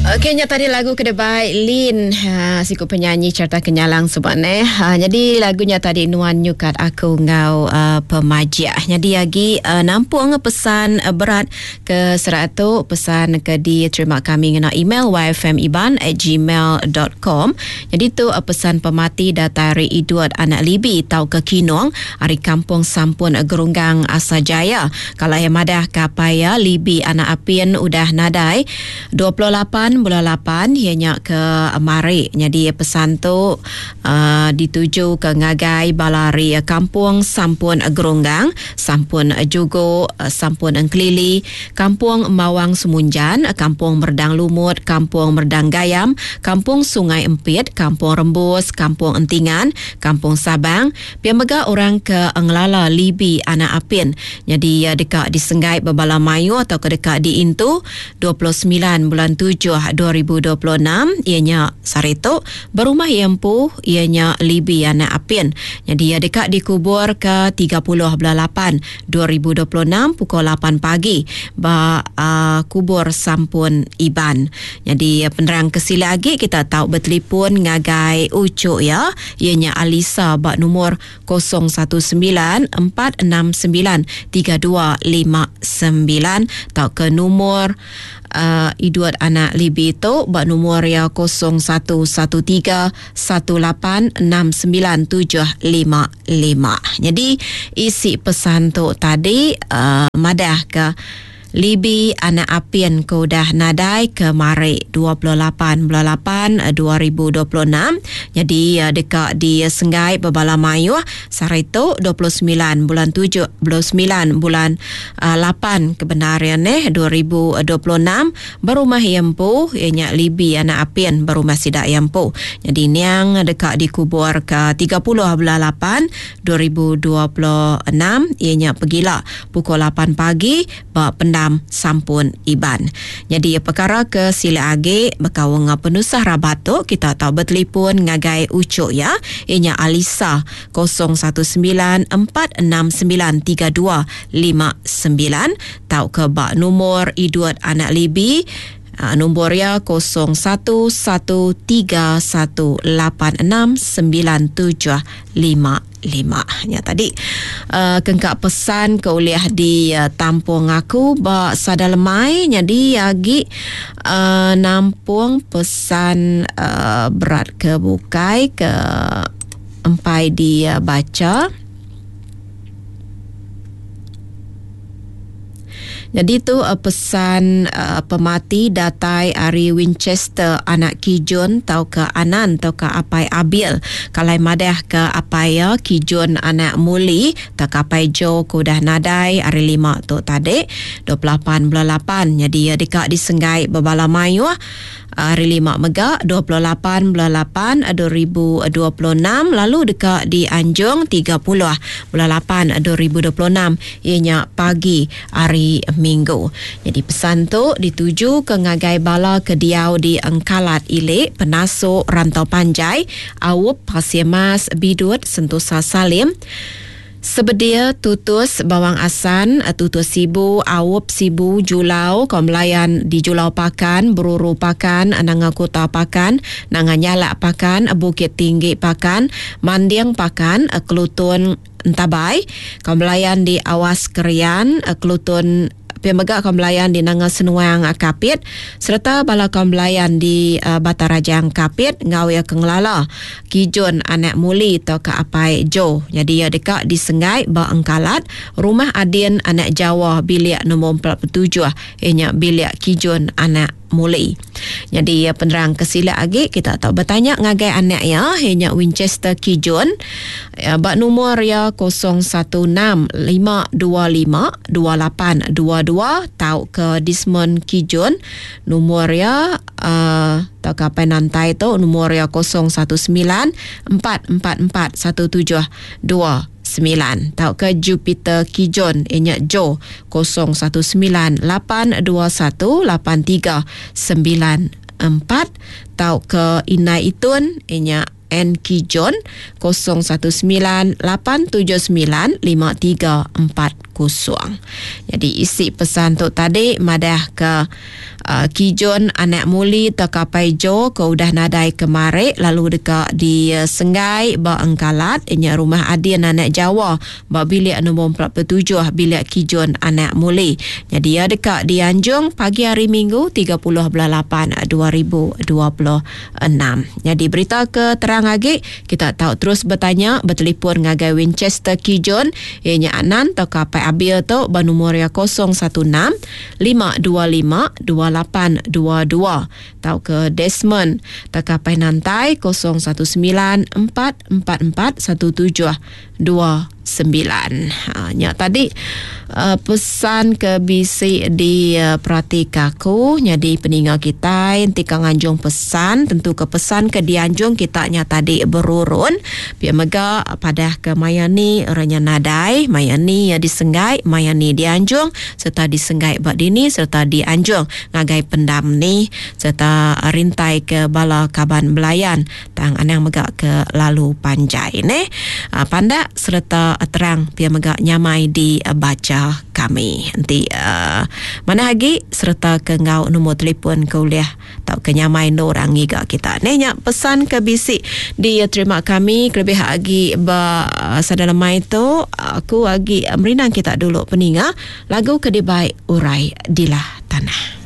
Okey nya tadi lagu ke debai Lin ha, siku penyanyi cerita kenyalang suba neh. Ha, jadi lagu nya tadi nuan nyukat aku enggau uh, pemajik. Jadi agi uh, nampung pesan uh, berat ke serat tu pesan ke diterima kami ngena email yfmiban@gmail.com. Jadi tu uh, pesan pemati datai ari Edward anak Libi tauka Kinong ari Kampung Sampun Gerunggang Asajaya. Kala iya madah ka apai iya Libi anak Apin udah nadai 28 bulan lapan iya nya ke mari. Nyadi pesan tu uh, dituju ke ngagai bala ari Kampung Sampun Gerunggang, Sampun Jugo, Sampun Engkelili, Kampung Mawang Semunjan, Kampung Merdang Lumut, Kampung Merdang Gayam, Kampung Sungai Empit, Kampung Rembus, Kampung Entingan, Kampung Sabang, Pia mega orang ke ngelala Libi anak Apin nyadi iya deka disenggai bebala mayuh tauka deka diintu 29 bulan tujuh 2026 iya nya sehari tu berumah iya empu iya nya Libi anak Apin nyadi iya deka dikuburka 30 bulan lapan 2026 pukul lapan pagi ba kubur Sampun Iban. Nyadi penerang ke silik agi kita tau betelipon ngagai uchu iya, iya nya Alisa ba numur 019-469-3259 tauka numur uh, Edward anak Libi tu ba numur iya 0113-1869755. Nyadi isi pesan tu tadi uh, madah ke Libi anak Apin ke udah nadai ke mari 28 bulan 8 2026 nyadi deka disenggai bebala mayuh sehari tu 29 bulan 7 29 bulan 8 ke bendar iya neh 2026 berumah iya empu iya nya Libi anak Apin berumah sida iya empu. Nyadi niang deka dikubur ke 30 bulan 8 2026 iya nya pegila pukul lapan pagi ba Pendam Sampun Iban. Nyadi pekara ke silik agi bekaul enggau penusah rabat tu kita tau betelipon ngagai uchu iya, iya nya Alisa 0194693259 tauka ba numur Edward anak Libi nombor iya 0113186975. 5. Nya tadi uh, kengka pesan ke ulih ditampung aku ba sada lemai nyadi agi uh, nampung pesan uh, berat ke bukai ke empai dibacha. Nyadi tu pesan pemati datai ari Winchester anak Kijun tauka Anan tauka apai Abil. Kalai madahka apai iya Kijun anak Muli tauka apai Joe ke udah nadai hari lima tu tadi 28 bulan lapan. Nyadi iya deka disenggai bebala mayuh. Hari Lima mega, 28 bulan lapan 2026 lalu deka dianjung 30 bulan lapan 2026 iya nya pagi hari Minggu. Nyadi pesan tu ditujuka ngagai bala ke diau di Engkalat Ili, Penasu, Rantau Panjai, Aup, Pasir Mas, Bidut, Sentosa Salim, Sebedia, Tutus, Bawang Asan, Tutus Sibu, Aup, Sibu, Julau, Kaum Belayan di Julau Pakan, Beruru Pakan, Nanga Kuta Pakan, Nanga Nyalak Pakan, Bukit Tinggi Pakan, Manding Pakan, Kelutun Entabai, Kaum Belayan di Awas Kerian, Kelutun Pia mega kaum belayan di Nanga Senuang Kapit sereta bala kaum belayan di Batang Rajang Kapit enggau iya ke ngelala Kijun anak Muli tauka apai Joe. Nyadi iya deka disenggai ba Engkalat, Rumah Adin anak Jawa bilik nombor 47 iya nya bilik Kijun anak Muli. Nyadi penerang ke silik agi kita tau betanya ngagai anak iya iya nya Winchester Kijun ba numur iya 0165252822 tauka Desmond Kijun numur iya uh, tauka apai nantai tu numur iya 01944417 9 tauka Jupiter Kijon iya nya Joe 0198218394 tauka Indai Itun iya nya N Kijon 0198795340. Jadi isi pesan tu tadi madah ke. Kijun anak Muli tauka Apai Jo ke udah nadai kemari lalu deka disenggai ba Engkalat nya rumah Adin anak Jawa ba bilik nombor 47 bilik Kijun anak Muli. Nyadi iya deka dianjung pagi hari Minggu 30 bulan 8 2026. Nyadi berita ke terang agi kita tau terus betanya betelefon ngagai Winchester Kijun iya nya Anan tauka Apai Abil tu ba nombor iya 016 525 2822 tauka Desmond tauka Apai Nantai 019 444 1729. Ha, nya tadi uh, pesan ke bisi diperatika aku nyadi peninga kitai enti ka nganjung pesan tentu ke pesan ke dianjung kita nya tadi berurun pia mega padah ke maya ni orang nya nadai maya ni iya disenggai maya ni dianjung sereta disenggai ba dini sereta dianjung ngagai pendam ni sereta rintai ke bala kaban belayan Tang anang mega ke lalu panjai neh. Pandak sereta terang pia mega nyamai dibacha kami. Enti manah agi sereta ke enggau nombor telefon ke ulih tauka nyamai endur orang ngiga kita. Neh nya pesan ke bisi diterima kami kelebih agi ba sada lemai tu aku agi merindang kita dulu peninga lagu ke dibai Urai Dilah Tanah.